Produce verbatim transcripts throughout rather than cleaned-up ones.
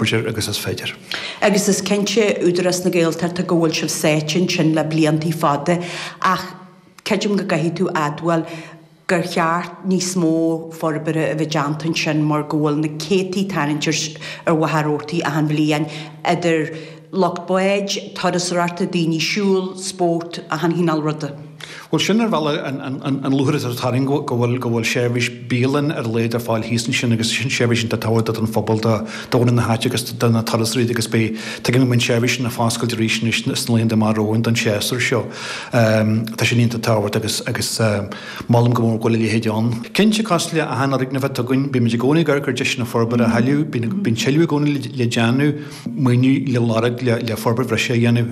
forbairt air agus is féidir. Agus is cinnte Údarás na Gaeltachta go bhfuil sibh sáite ansin le bliantaí fada ach creidim go gcaithfidh tú admháil gur cheart níos mó forbartha a bheith déanta ansin mar go bhfuil na céadtaí tarraingt ar Mhachaire Rabhartaigh achan bhliain idir lucht báid, turasóireachta, daoine siúil, spórt, achan chineál ruda. Bhuel sin ar bhealach an lúcháir atá orainn go bhfuil go bhfuil seirbhís bialann ar a laghad ar fáil thíos ansin agus sin seirbhís iontach tábhachtach don phobal do dhaoine na háite agus do na turasóirí agus beidh tuigim go mbeidh an seirbhís sin ag foscailt arís anois sna laethanta amach romhainn don séasúr seo. Tá sin iontach tábhachtach agus agus molaim go mór go bhfuil a leithéid ann. Cinnte cosúil le achan fhoirgneamh atá againn, bímid i gcónaí ag amharc ar deiseanna forbartha a thuilleadh, bíonn tuilleadh i gcónaí le déanamh, maoiniú le lorg le forbairt bhreise a dhéanamh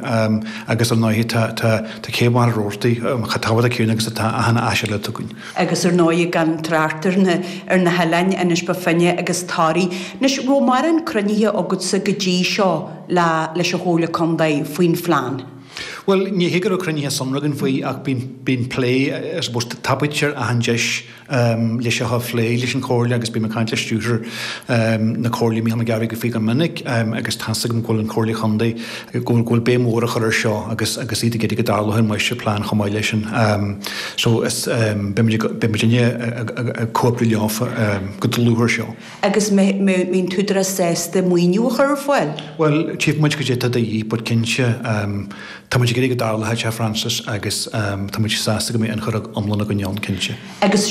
agus ar ndóigh tá tá tá céibh Mhachaire Rabhartaigh chomh tábhachtach céanna agus atá achan áis eile atá againn. Agus ar ndóigh gan trácht ar na ar na hoileáin, Inis Bó Finne agus Toraigh. Anois, raibh mórán cruinnithe agatsa go dtí seo le leis an Chomhairle Contae faoin phlean? Bhuel, ní hé go raibh cruinnithe sonracha againn faoi ach bíonn bíonn plé, I suppose, tapaítear achan deis le seo a phlé leis an Chomhairle agus bím ag caint le stiúrthóir na Comhairle, Mícheál Mac Gairbheith faoi go minic agus tá's agam go bhfuil an Chomhairle Chontae, go bhfuil go bhfuil béim mhór á chur ar seo agus agus iad ag iarraidh go dtarlódh an máistirphlean chomh maith leis sin. So is beimid beimidne ag comhoibriú leofa go dlúth ar seo. Agus mbeidh an tÚdarás sásta maoiniú a chur ar fáil? Bhuel, tchífidh muid goidé atá de dhíth, but cinnte, tá muid ag iarraidh go dtarlódh sé, Frances, agus tá muid sásta go mbeidh ionchur iomlán againn ann, cinnte. Agus